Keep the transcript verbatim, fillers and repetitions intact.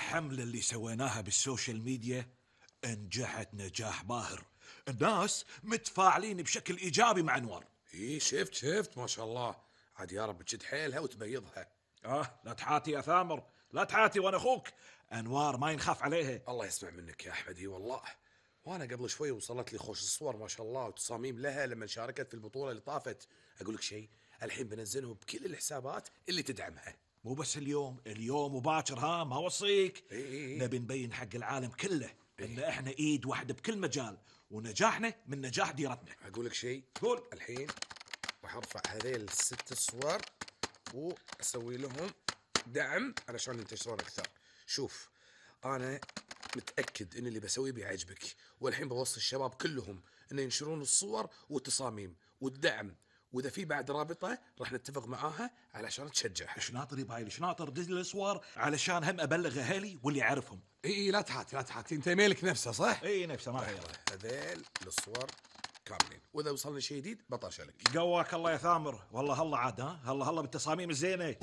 الحملة اللي سويناها بالسوشيال ميديا انجحت نجاح باهر. الناس متفاعلين بشكل إيجابي مع أنوار. ايه شفت شفت ما شاء الله، عاد يا رب تشد حيلها وتبيضها. آه لا تحاتي يا ثامر، لا تحاتي وأنا أخوك. أنوار ما ينخاف عليها. الله يسمع منك يا أحمد. اي والله، وأنا قبل شوي وصلت لي خوش الصور ما شاء الله وتصاميم لها لما شاركت في البطولة اللي طافت. أقول لك شيء، الحين بنزلهم بكل الحسابات اللي تدعمها. مو بس اليوم، اليوم وباكر، ها ما وصيك. إيه إيه إيه. نبي نبين حق العالم كله إن إحنا إيد واحدة بكل مجال، ونجاحنا من نجاح ديرتنا. أقول لك شيء، قول. الحين راح أرفع هذيل الست الصور وأسوي لهم دعم علشان ينتشرون أكثر. شوف، أنا متأكد إن اللي بسويه بيعجبك، والحين بوصي الشباب كلهم إن ينشرون الصور والتصاميم والدعم، وإذا في بعد رابطة راح نتفق معاها علشان تشجعها. ايش ناطر يا بايل، ايش ناطر؟ دز لي الصور علشان هم ابلغ اهالي واللي يعرفهم. اي اي لا تحاتي لا تحاتي، انت ايميلك نفسه صح؟ اي نفسه ما غيره. هذيل الصور كاملين، واذا وصلنا شيء جديد بطرشلك. قواك الله يا ثامر، والله هلا عاد، ها هلا هلا بالتصاميم الزينه.